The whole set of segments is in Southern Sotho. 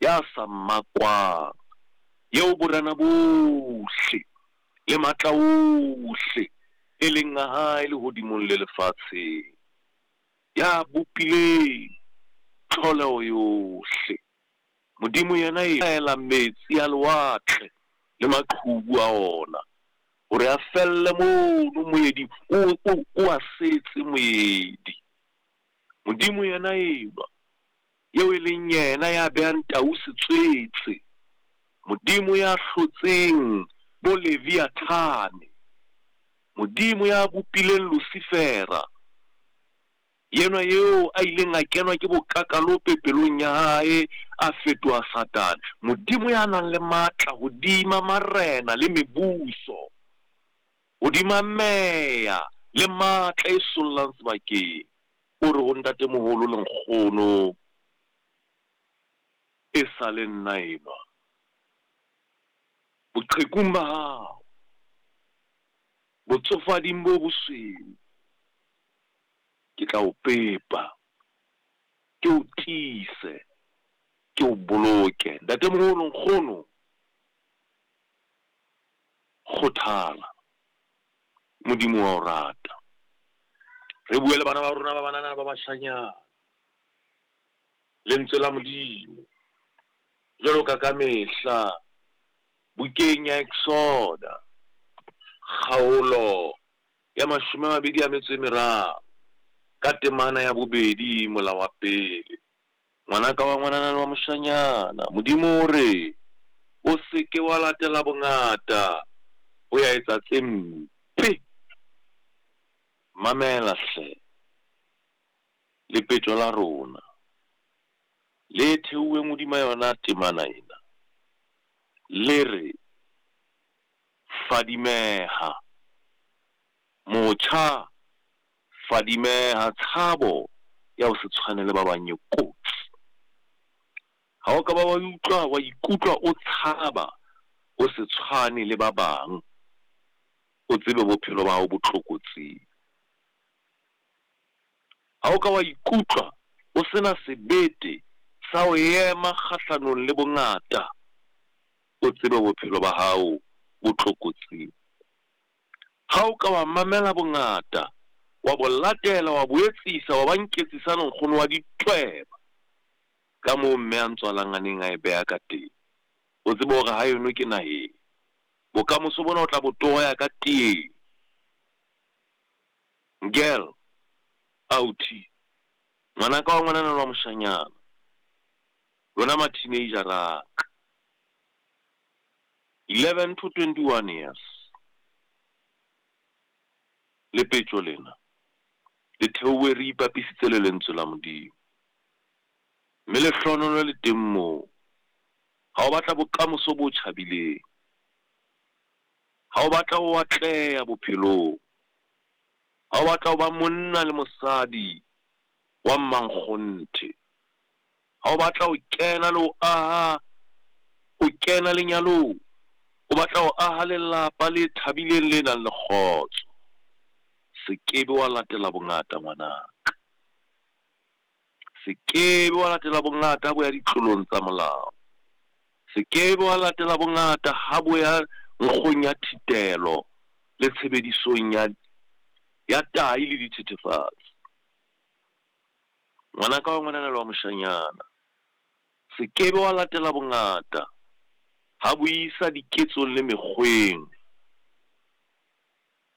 ya sa makwang, eo borena bohle le matla ohle e leng a hae lehodimong le lefatsheng, ya bopileng tlholeho yohle. Modimo yena e laela metsi a lewatle le maqhubu a ona hore a felle mono moeding, o a setse moedi. Modimo yena enwa, eo e leng yena ya behang tau setswetse, Modimo ya hlotseng bo Leviathane, Modimo ya bopileng Lucifera, yenwa eo a ileng a kenwa ke bokakalope pelong ya hae, a fetoha Satane. Modimo ya nang le matla hodima marena le mebuso, hodima meya le matla e sollang sebakeng, o re ho ntatemoholo le nkgono, e sa le nna enwa. Boqhekung ba hao, botsofading bo bosweu, ke tla o pepa, ke o tiise, ke o boloke. Ntatemoholo, nkgono, kgothala, Modimo wa o rata. Re bue le bana ba rona ba banana ba bashanyana, lentswe la Modimo, jwalo ka ka mehla, bukeng ya Exoda, kgaolo ya 23, ka temana ya 2 mola wa pele. Ngwanaka wa ngwanana le wa moshanyana, Modimo o re, o se ke wa latela bongata ho ya etsa tse mpe. Mamela hle, lepetjo la rona le theuweng hodima yona temana ena, le re, Fadimeha, motjha, fadimeha, tshabo ya ho se tshwane le ba bang e kotsi. Ha o ka ba wa utlwa, wa ikutlwa o tshaba ho se tshwane le ba bang, o tsebe bophelo ba hao bo tlokotsing. Ha o ka wa ikutlwa o se na sebete sa ho ema kgahlanong le bongata, o tsebe bophelo ba hao bo tlokotsing. Ha o ka wa mamela bongata, wa bo latela, wa bo etsisa, wa ba nketsisane nkgono wa ditweba, ka moo mme a ntswalang a neng a e beha ka teng, o tsebe hore ha eno ke naheng, bokamoso bona o tla bo toya ka teng. Girl, authi, ngwanaka wa ngwanana le wa moshanyana, lona ma-teenager a ka, 11 to 21 years, lepetjo lena le theowe re ipapisitse le lentswe la Modimo, mme lehlohonolo le teng moo. Ha o batla bokamoso bo tjhabileng, ha o batla ho atleha bophelong, ha o batla ho ba monna le mosadi wa mmankgonthe, ha o batla ho kena le ho aha, o kena lenyalong, o batla ho aha lelapa le thabileng le nang le kgotso, se ke be wa latela bongata ngwanaka. Se ke be wa latela bongata ha bo ya ditlolong tsa molao. Se ke be wa latela bongata ha bo ya nkgong ya thitelo le tshebedisong ya ya tahi le dithethefatsi. Ngwanaka wa ngwanana le wa moshanyana, se ke be wa latela bongata ha bo isa diketsong le mekgweng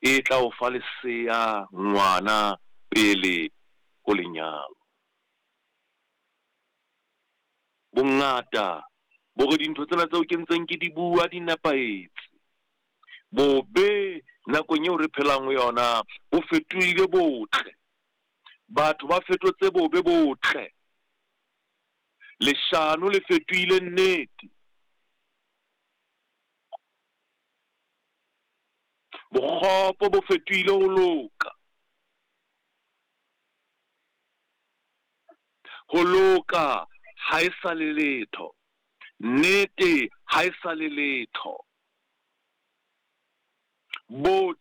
e tla o fa lesea ngwana pele ho lenyalo. Bongata bo re dintho tsena tseo ke ntseng ke di bua di nepahetse. Bobe nakong eo re phelang ho yona bo fetohile botle. Batho ba fetotse bobe botle. Leshano le fetohile nnete. Bokgopo bo fetohile ho loka. Ho loka ha e sa le letho. Nnete ha e sa le letho. Botle.